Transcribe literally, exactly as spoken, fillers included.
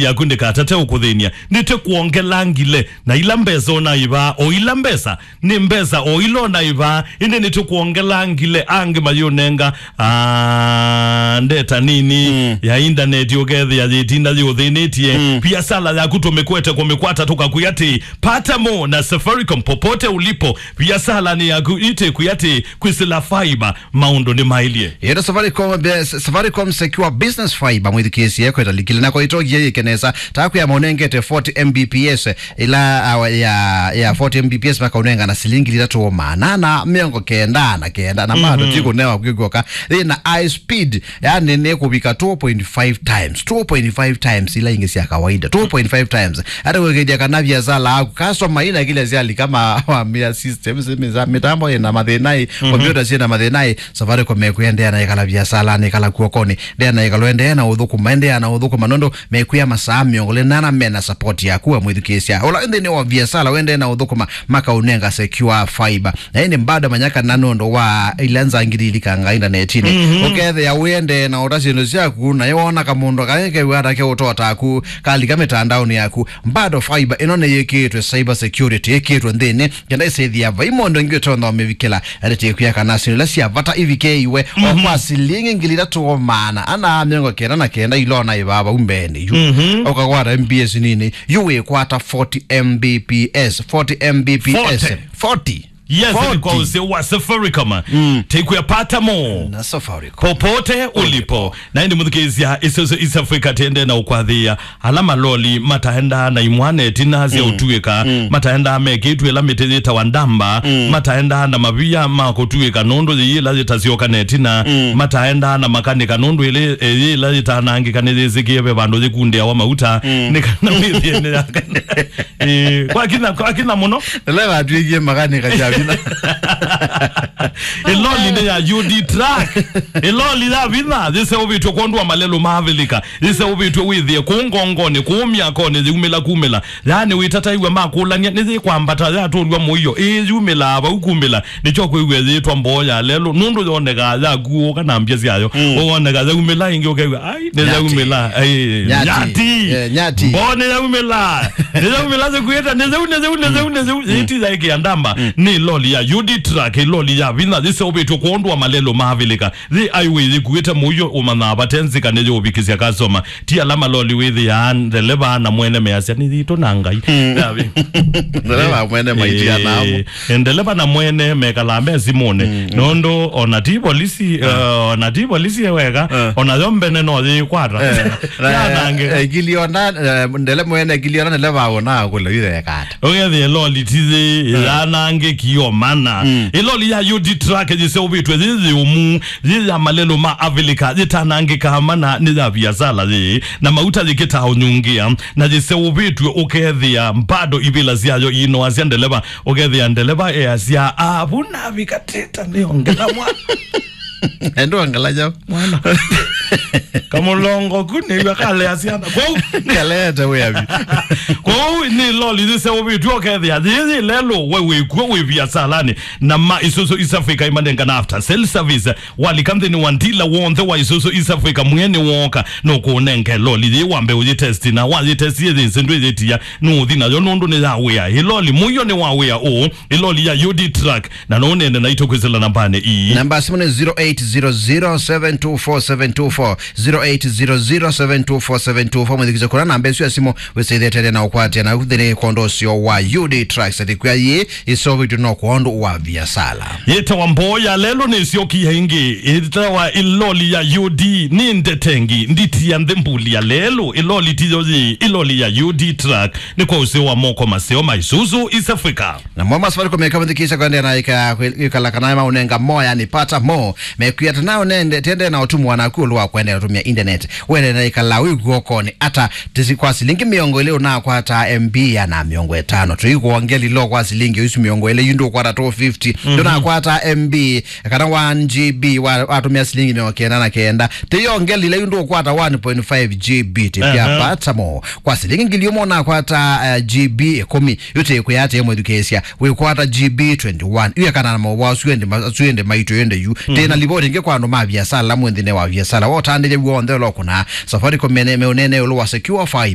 yaku ndĩkatate ũkũthĩnia. Nĩtũkwongela ngile, na ila mbesa ũnaĩvaa, o ila mbesa, nĩ mbesa o ila ũnaĩvaa, ĩndĩ nĩtũkwongela ngile angĩ mayũnenga, ah, ndeta nini, mm, ya indaneti ũkethĩa yĩtinda yĩũthĩnĩtie. Mm. Biasala yaku tũmĩkwete kũmĩkwata tũkakwĩa atĩ, pata mo na Safaricom popote ulipo. Biasalanĩ yaku itĩkwĩa atĩ, kwĩsĩla fiber, maũndũ nĩmaĩlye. Yĩta Safaricom, be-, Safaricom Secure Business Fiber, mwĩthukĩĩsye kweta likile na kwa itogie yĩke nesa. Taku ya maũnengete forty M B P S, ila, ah, ya, ya forty M B P S makaũnenga na silingi ithatũ maana na mĩongo kenda na kenda, na bado, mhm, ti kũnewa kwĩkw'oka. Yĩ na high speed, yani nĩ kũvika two point five times, two point five times ila ingĩ sya kawaida, two point five times. Hata kwĩkĩthya kana biasala yaku, customer ina kile syali kama wamia systems, mĩtambo ina mathĩna ĩ, mhm, computer syina mathĩna ĩ, Safaricom mekwĩa endeea na ĩkala biasalanĩ, ĩkala kw'okonĩ, endeea na ĩkala, endeea na ũthũkũma, endeea na ũthũkũma, nũndũ mekwĩa masaa mĩongo ĩlĩ na ĩna mena support yaku we mwĩthukĩĩsya. Ũla nthĩnĩ wa biasala, wendee na ũthũkũma, makaũnenga Secure Fiber. Na ĩndĩ bado manya kana nũndũ wa ila nzangiri ilikangaa indanetinĩ, mhm, ũkethĩa wĩendee na ũta syĩndũ syaku, na ĩwona kamũndũ kaĩ kew'a ata keũtotaku, kalika mĩtandaonĩ yaku, bado fiber ĩno nĩyĩkĩĩtwe cyber security, ĩkĩĩtwe nthĩnĩ, kenda ĩsĩthĩa vai mũndũ ũngĩ ũtonya ũmĩvikĩla. Ĩndĩ tĩkwĩa kana syĩndũ ila sya vata ivikĩe iwe, o, mhm, kwa silingi ngili ithatũ maana ana mĩongo kenda na kenda ila ũnaĩvaa vau mbeenĩ yu. Mhm. Ũkakwata M B S nini, yu wĩkwata forty M B P S, forty M B P S. Forty. Forty. Yes, forty. Ni kwa ũsĩ wa Safaricom. Mm. Tĩkwĩa pata mo na Safaricom popote ulipo. Na ĩndĩ mũthikĩĩsya, Isuzu East Africa tĩendee na ũkwathĩĩa ala maloli mataendaa na imwana ĩtina sya, mm, ũtuĩka, mm, mataendaa mekĩtw'e ĩla mĩtĩ yĩtawa ndamba, mm, mataendaa na mavia ma kũtuĩka nũndũ yĩĩ ĩla yĩtasyoka na ĩtina, mm, mataendaa na makanĩka nũndũ ĩlĩ, ĩyĩ ĩla yĩtanangĩka nĩyĩsĩkĩe ve vandũ yĩkundĩawa mauta, mm, nĩ kana wĩthĩe nĩ yakana. Ĩĩ, kwa kina, kwa kina mũno. Leo atwĩkie makanika sya vinya. Ĩloli nĩ ya U D Truck. Ĩloli ya vinya, yĩseũvĩtw'e kwondũ wa malelũ ma Avilika. Yĩseũvĩtw'e wĩthĩe kũu ngongonĩ, kũu myakonĩ, yĩumĩla kumĩla. Yaani wĩtataiw'a makũlany'a, nĩyĩkwambata yatũlw'a mũio. Ĩĩ, yumĩlaa vau kumĩla. Nĩkyo kwĩw'a yĩtwa mboo ya lelũ. Nũndũ yonekaa yakuũka na mbya syayo. Mm. Woneka yaumĩla ĩngĩ ũkew'a, ai, nĩ yaumĩla. Ai, nyati. Nyati. Eh, nyati. Mboo nĩ yaumĩla. Nĩ yaumĩla, sikuĩte, nĩ yau, nĩ yau, nĩ yau, nĩ yau. Mm. Yĩti yaĩkĩa ndamba. Mm. Nĩ loli ya U D Truck, loli ya vinya, yĩseũvĩtw'e kwondũ wa malelũ ma Avilika. Yĩ highway yĩkuĩte mũio ũmanyaa vate nzika nĩyũvikĩsya customer. Ti ala maloli wĩthĩaa ndeleva na mwene measya, "Nĩ yitũ na Ngai." Mm. Yavi. Ndeleva mwene maitia namo. Eh, ndeleva na mwene mekalaa me simũnĩ. Mm, mm. Nũndũ ona ti polisi, ah, eh, ona ti polisi e weka, eh, ona yo mbene no yĩkwata. Eh, na, yanangĩka. Eh, ngiliona, eh, ndele mwene ngiliona ndeleva ona akũle wĩtheka ata. Ũkethĩa loli ti yĩ, eh, yanangĩki yo mana. Mm. Ĩloli ya U D Truck yĩseũvĩtw'e yĩ yĩũmu, yĩ ya malelũ ma Avilika, yĩtanangĩkaa mana nĩ ya viasala yĩ, na mauta yĩkĩtaa ũnyungĩa, na yĩseũvĩtw'e ũkethĩa mbado ivĩla syayo iinoasya ndeleva, ũkethĩa ndeleva easya, "Ah, vu navikatĩta nĩongela mwana." Endo angala jau. Mwana. Kamũlongo ku nĩw'a kalea syana. Kwou kalete wĩavi. Kwou nĩ loli yĩseũvĩtw'e ũkethĩa yĩyĩ lelũ we wĩkw'o wĩ viasalanĩ, na ma Isuzu East Africa imanengana after sale service. Walika nthĩnĩ wa ndila w'onthe wa Isuzu East Africa, mwene woka nũkũnenge loli yĩ wambe ũyĩtesti, na wayĩtesti yĩyĩsĩ ndwĩyĩtia nũũthi nayo nũndũ nĩ ya wĩa. Ĩ loli mũio nĩ wa wĩa ũũ, ĩ loli ya U D Truck, na no ũnene naitũ kwĩsĩla nambanĩ ii. Namba ya simũ nĩ zero eight zero zero seven two four seven two four, zero eight zero zero seven two four seven two four. Mwĩthikĩsye kũna namba ĩsu ya simũ, wĩsĩthĩe tene na ũkwatĩana nthĩnĩ kwondũ ũsio wa U D Trucks. Ĩtĩkw'a yĩ ĩseũvĩtw'e no kwondũ wa viasala. Yĩtawa mboo ya lelũ nĩsyokie ĩngĩ. Yĩtawa ĩloli ya U D. Nĩ ndetengi, nditi ya nthĩ mbuli ya lelũ. Ĩloli tiyo yĩ, ĩloli ya U D Truck. Nĩ kwa ũseo wa moko maseo ma Isuzu East Africa. Namo ma Safaricom meka mũthikĩĩsya kwendeea na ĩka-, ĩkala kana maũnenga moya nĩ pata mo. Mekwĩa ata nao nende, tende na ũtumwa naku ũlũ wa kwendeea ũtũmĩa internet. Wende na ĩkala wĩ kw'okonĩ ata tĩsi kwa silingi mĩongo ĩlĩ ũnakwata M B ya na mĩongo ĩtano. Tũikwongeli lo kwa silingi isu mĩongo ĩlĩ yu ndũkwata two fifty. Mhm. Ndũnakwata M B kana one G B wa, watũmĩa silingi mĩongo kenda na kenda. Tĩyongeli yu ndũkwata one point five G B tĩpya. Aha. Pata mo. Kwa silingi ngili ũmwe ũnakwata, eh, G B ĩkũmi. Yu tĩkwĩa atĩ mwĩthukĩĩsya, wĩkwata G B twenty-one. Yu ekana na maũvoo asu ĩndĩ ma-, asu ĩndĩ maitũ ĩndĩ yu. Mhm. Tĩna livoti ĩngĩ kwa andũ ma viasala, mwĩ nthĩnĩ wa viasala. Wotandĩthya w'onthe ũlokũna. Safaricom mene-, meũnene ĩũlũ wa Secure Fiber.